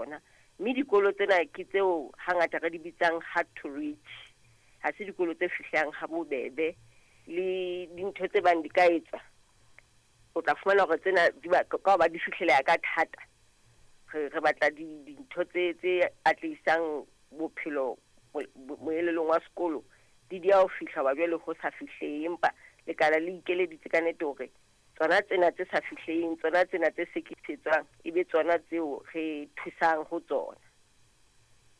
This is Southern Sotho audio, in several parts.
tsona. Mme dikolo tsena ke tseo hangata re di bitsang hard to reach. Ha se dikolo tse fihlang ha bobebe le dintho tse bang di ka etswa. O tla fumana hore tsena di ba ka hoba di fihleleha ka thata. Re batla dintho tse atlehisang bophelo moelelong wa sekolo di dia ho fihla hoba jwale ho sa fihlehe, empa lekala le ikeleditse ka nnete hore tsona tsena tse sa fihleheng, tsona tsena tse sekisetswang, e be tsona tseo re thusang ho tsona.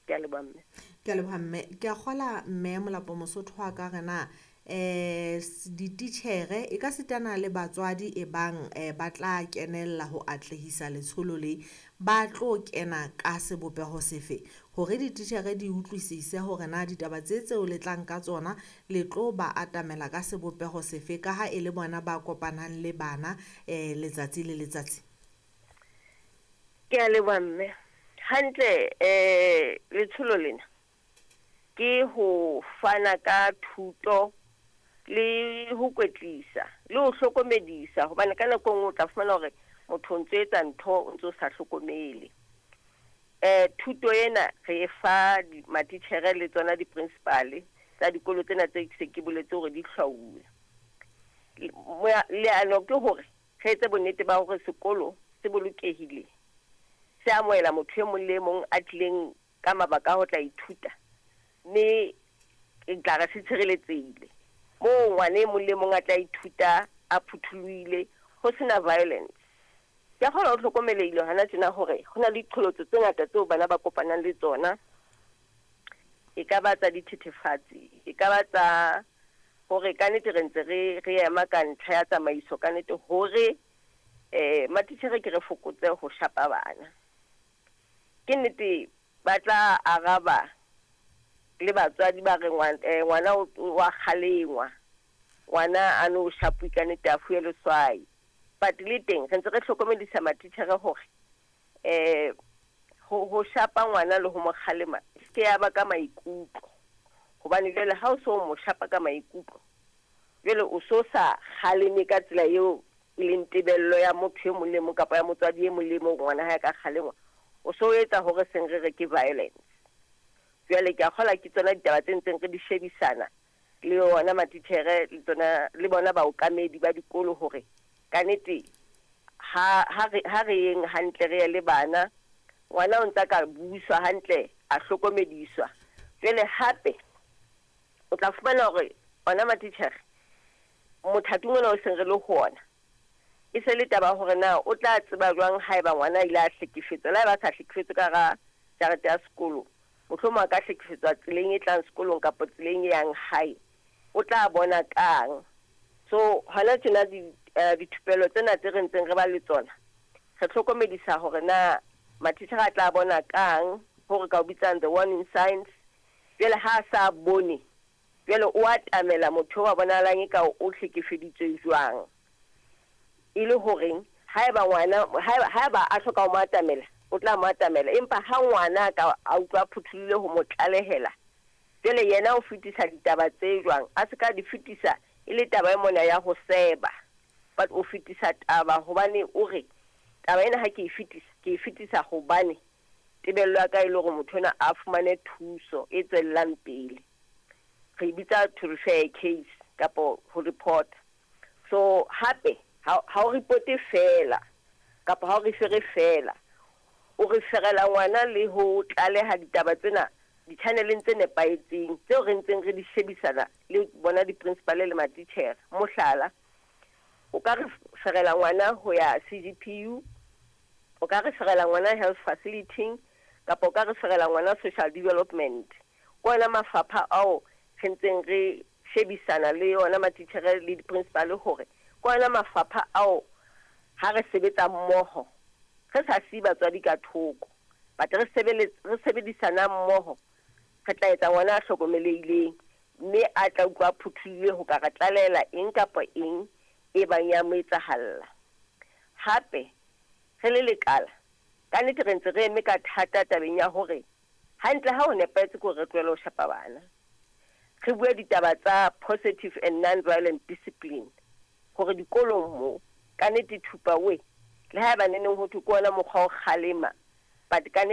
Ke a leboha, mme. Ke a leboha, mme. Ke a kgola, mme Molapo Mosotho wa ka re na dititjhere e ka sitana le batswadi e bang ba tla kenella ho atlehisa letsholo le, ba tlo kena ka sebopeho sefe hore dititjhere di utlwisise hore na ditaba tse tseo le tlang ka tsona le tlo ba atamela ka sebopeho sefe, ka ha e le bona ba kopanang le bana letsatsi le letsatsi? Ke a leboha, mme. Hantle, letsholo lena ke ho fana ka thuto le ho kwetlisa le ho hlokomedisa, hobane ka nako e nngwe o tla fumana hore motho o ntso etsa ntho o ntso sa hlokomele. Thuto ena re e fa matitjhere le tsona di-principal tsa dikolo tsena tse se ke boletse hore di hlwauwe. Leano ke hore re etse bonnete ba hore sekolo se bolokehile, se amohela motho e mong le e mong a tlileng ka mabaka a ho tla ithuta, mme ke tla re se tshireletsehile moo ngwana e mong le mong a tla ithuta a phuthulohile, ho sena violence. Ke a kgona ho hlokomelehile hona tjena hore ho na le diqholotso tse ngata tseo bana ba kopanang le tsona. E ka ba tsa dithethefatsi, e ka ba tsa hore ka nnete re ntse re ema ka ntlha ya tsamaiso ka nnete hore matitjhere ke re fokotse ho shapa bana. Ke nnete ba tla araba le batswadi ba re ngwana wa kgalengwa, ngwana a no shapuwe ka nnete a fuwe leswai. But le teng re ntse re hlokomedisa matitjhere hore ho shapa ngwana le ho mo kgalema e se ke ya ba ka maikutlo, hobane jwale ha o so mo shapa ka maikutlo, jwale o so sa kgaleme ka tsela eo e leng tebello ya motho e mong le mong kapa ya motswadi e mong le mong ngwana hae ka kgalengwa, o so etsa hore seng re re ke violence. Jwale ke a kgola ke tsona ditaba tse ntseng re di shebisana le yona matitjhere le tsona le bona baokamedi ba dikolo hore ka nnete ha re yeng hantle re ye le bana, ngwana o ntsa ka buiswa hantle, a hlokomediswa. Jwale hape o tla fumana hore ona matitjhere mothating ona o seng re le ho ona, e se le taba hore na o tla tseba jwang haeba ngwana a ile a hlekefetswa, le haeba a sa hlekefetswe ka hara jarete ya sekolo, mohlomong a ka hlekefetswa tseleng e tlang sekolong kapa tseleng e yang hae, o tla bona kang? So hona tjena dithupelo tsena tse re ntseng re ba le tsona, re hlokomedisa hore na matitjhere a tla bona kang, hore ka o bitsang the warning signs. Jwale ha a sa bone, jwale o atamela motho wa bonahalang e ka o hlekefeditswe jwang, e le horeng haeba ngwana haeba a hloka ho mo atamela, o tla mo atamela. Empa ha ngwana ka a utlwa phuthulohile ho mo tlalehela, jwale yena o fetisa ditaba tse jwang, a se ka di fetisa e le taba e mona ya ho seba, but o fetisa taba hobane o re taba ena ha ke e fetisa, ke e fetisa hobane tebello ya ka e le hore motho ona a fumane thuso e tswellang pele. Re e bitsa to refer a case kapa ho report. So hape ha o reporte fela kapa ha o refere fela, o referela ngwana le ho tlaleha ditaba tsena di-channeleng tse nepahetseng tseo re ntseng re di shebisana le bona di-principal le matitjhere. Mohlala, o ka referela ngwana ho ya CGPU, o ka referela ngwana health facility, kapa o ka referela ngwana social development. Ke ona mafapha ao re ntseng re shebisana le ona matitjhere le di-principal hore ke ona mafapha ao ha re sebetsa mmoho re sa siye batswadi ka thoko, but re sebedisana mmoho, re tla etsa ngwana a hlokomelehileng mme a tla utlwa a phuthulohile ho ka re tlalehela eng kapa eng e bang ya mo etsahalla. Hape re le lekala ka nnete re ntse re eme ka thata tabeng ya hore hantle ha ho nepahetse ke hore re tlohele ho shapa bana, re bue ditaba tsa positive and non-violent discipline hore dikolong mo ka nnete thupa we le haeba neneng ho thwe ke ona mokgwa o kgalema, but ka nnete